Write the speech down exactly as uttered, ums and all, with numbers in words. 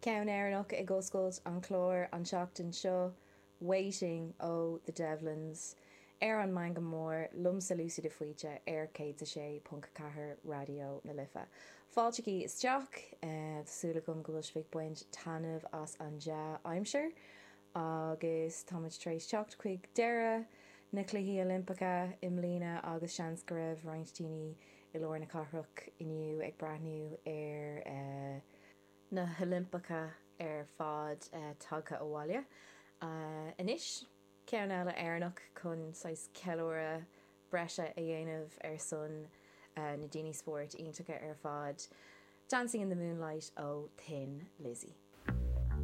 Ceann Éireannach ag oscailt an chláir an tseachtain seo, Waiting ó The Devlins, ar an Meangadh Mór liomsa Lucy de Faoite ar céad a sé ponc ceathair Raidió na Life. Fáiltigí isteach, tá súil agam go bhfuil sibh ag baint taitneamh as an dea-aimsir agus táimid tar éis teacht chuig deireadh na Cluichí Oilimpeacha i mbliana agus seans go raibh roinnt daoine i lár na cathrach inniu ag breathnú ar na hOilimpeacha ar fad tagtha abhaile. Anois, ceann eile Éireannach chun saghas ceiliúradh breise a dhéanamh ar son na daoine spóirt iontacha ar fad, Dancing in the Moonlight ó Thin Lizzy.